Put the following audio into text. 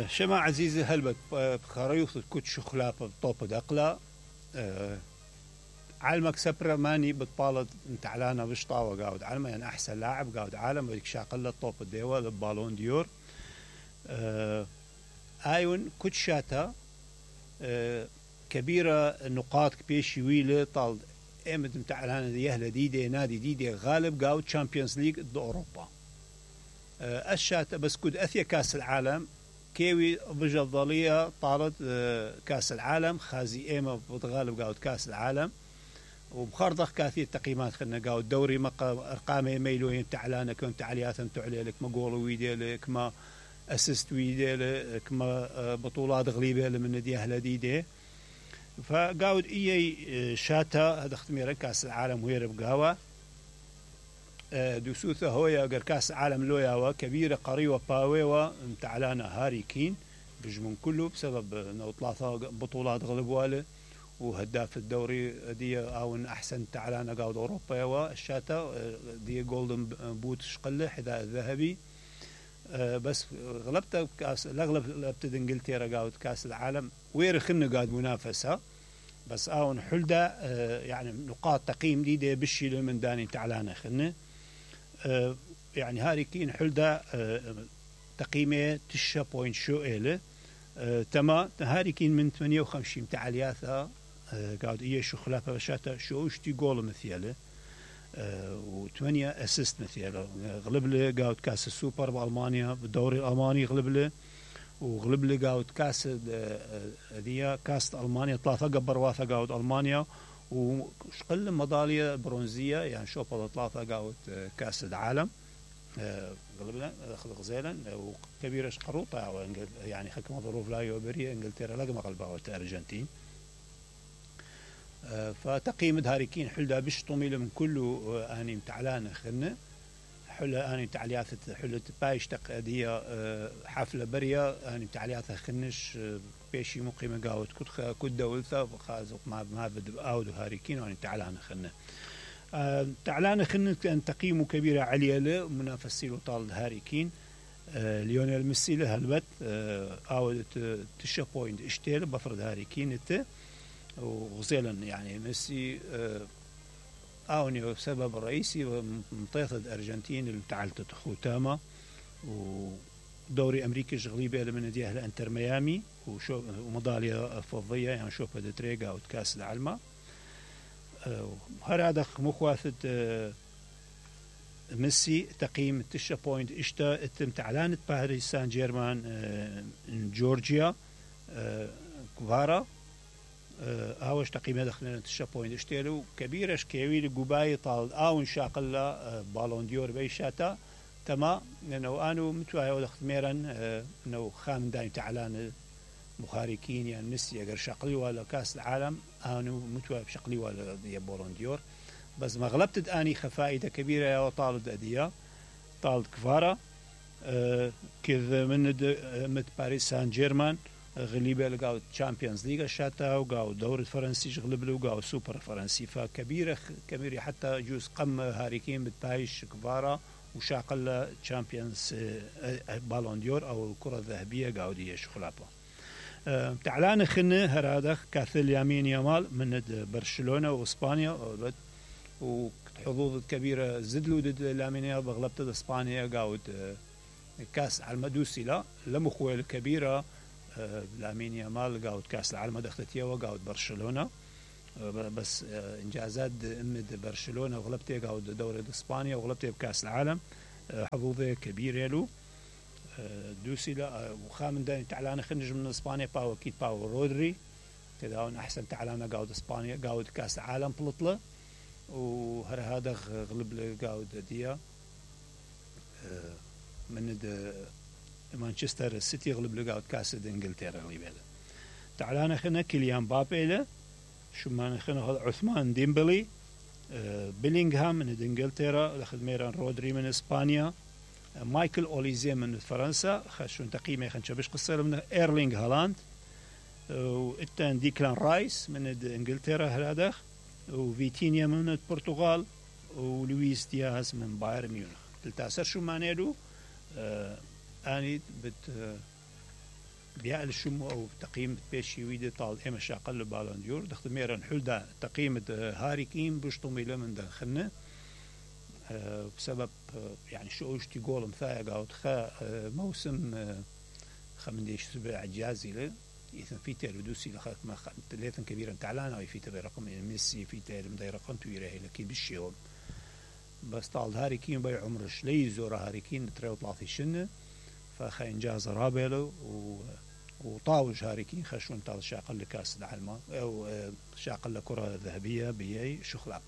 شما عزيزي هلبت بخريوث كوت شخلافة بطوب دقلا علمك سبرا ماني بتطالد انتعلانا بشطاوة قاود علما يعني أحسن لاعب قاود عالم بدك شاقلة طوب الديوة بالون ديور آيون كوت شاتا كبيرة نقاط بيشي ويلة طالد ايمت انتعلانا ديهلا ديدي نادي ديدي غالب قاود تشامبيونز ليج ضد أوروبا الشاتا بس كود أثيا كاس العالم كيوي بجضالية طالت كاس العالم خازي ايما بتغالب قاود كاس العالم وبخرضخ كاثير تقييمات خلنا قاود دوري ارقام يميلوين تعلانه كنت علياتهم تعلي لك ما جول ويدي لك ما اسيست ويدي لك ما بطولات غليبه من نادي اهل ديدي فقاود اي شاتا هذا ختمير كاس العالم ويرب قهوه دوسوثه هويا قر كاس العالم لوياوا كبيره قريوه باويوا تعلانه هاري كين بجمن كله بسبب انه ثلاثه بطولات غلبواله وهداف الدوري دي او احسن تعلانه قاود اوروبا والشاتا دي جولدن بوت شقله حذاء الذهبي بس غلبت كاس غلبت انجلترا قاود كاس العالم ويرخن قاعد منافسه بس اون حلده يعني نقاط تقييم دي بالشي من داني تعلانه خنه يعني هاري كين حلده تقييمه تشا بوينت شو إله تما هاري كين من 58 تعالياثا قاعد إيه شو خلافه بشاتا شو اشتي جول مثيله و8 اسيست مثيله غلب له قاعد كاس السوبر بألمانيا بالدوري الألماني غلب له وغلب له قاعد كاس دي كاس ألمانيا ثلاثة قبر واثا قاعد ألمانيا وشقل ميدالية برونزية يعني شوفها ثلاثة قاعد كاس العالم غلبنا غزيلا وكبيرة قروطة يعني حكم ظروف لا يوبرية انجلترا لقى مغلبة الارجنتين فتقييم هاريكين حلدا بش طميل من كله اني متعلان خلنا حلا اني تعليات حلت بايش تقديه حفله بريه اني تعليات خنش بيشي مقيمه قاوت كد دولثا خازق ما بد اود هاريكين اني تعلان خلنا تعلان خلنا كان تقييمه كبيره عليه له منافسي له طال هاريكين ليونيل ميسي له هلبت اود تشا بوينت اشتيل بفرض هاريكين انت وغزيلا يعني ميسي أوني سبب رئيسي ومطيطة الأرجنتين اللي تعلت ختامة ودوري أمريكي شغلي بيه من نادي أهل أنتر ميامي وميدالية فضية يعني شوفها دتريجا أو كاس العالم هذا مخواثة ميسي تقييم تشا بوينت اشتا اتم تعلانت باريس سان جيرمان جورجيا كفارا هاوش تقييمه دخلنا تشا بوينت اشتيلو كبيرش كيويل قباي طال اون شاقلا بالون ديور بيشاتا تما لانه انو متواي ودخت ميرن انه خام دايم تعلان مخاركين يعني ميسي اگر شقلي ولا كاس العالم انو متواي بشقلي ولا دي بالون ديور بس ما غلبت اني خفائده كبيره يا طالد اديه طالد كفاره كذا من باريس سان جيرمان غليبه لقاو تشامبيونز ليغا شاتا وقاو الدوري الفرنسي غلب له وقاو السوبر الفرنسي فكبيره كبيره حتى جوز قم هاريكين بتايش كفاره وشاقل تشامبيونز بالون ديور او الكره الذهبيه قاو دي شخلابه تعلان خنه هرادخ كاثل يمين يمال من برشلونه واسبانيا وحظوظ كبيره زدلو ضد لامين يامال بغلبت اسبانيا قاود كاس على المدوسي لا لمخويل الكبيره لامين يامال قاود كاس العالم دختتيه وقاود برشلونه بس انجازات امد برشلونه وغلبتيه قاود دوري اسبانيا وغلبتيه بكاس العالم حظوظه كبيره له دوسي لا وخامن داني تعلانه خنج من اسبانيا باو اكيد باو رودري كذا احسن تعلانه قاود اسبانيا قاود كاس العالم بلطله وهذا غلب قاود ديا من مانشستر سيتي غلب لقاود كاس انجلترا غليبه تعالى خنا كيليان بابي له شو ما خنا عثمان ديمبلي بيلينغهام من انجلترا اخذ ميران رودري من اسبانيا مايكل اوليزي من فرنسا خشون تقييمه خنش باش قصير من ايرلينغ هالاند والتان ديكلان رايس من انجلترا هذا وفيتينيا من البرتغال ولويس دياز من بايرن ميونخ 13 شو معناه اني بيا الشمو او تقييم بيشي ويدا طال اما شاقل بالون ديور دخل ميرن حلدا تقييم هاري كين بشطمي لمن دخلنا بسبب يعني شو اشتي جول مثايا قاوت خا موسم خمنديش سبع جازي له إذا في تير بدوسي لخاك ما ليثن كبيرا تعلان أو في تير رقم ميسي في تير مدي رقم تويره لكي بالشيوم بس طال هاري كين بي عمرش لي زور هاري كين تريو طلاثي شنه فخا إنجاز رابيلو وطاوج هاري كين خشون طال شاقل لكاس العالم أو شاقل لكرة ذهبية بيي شخلاب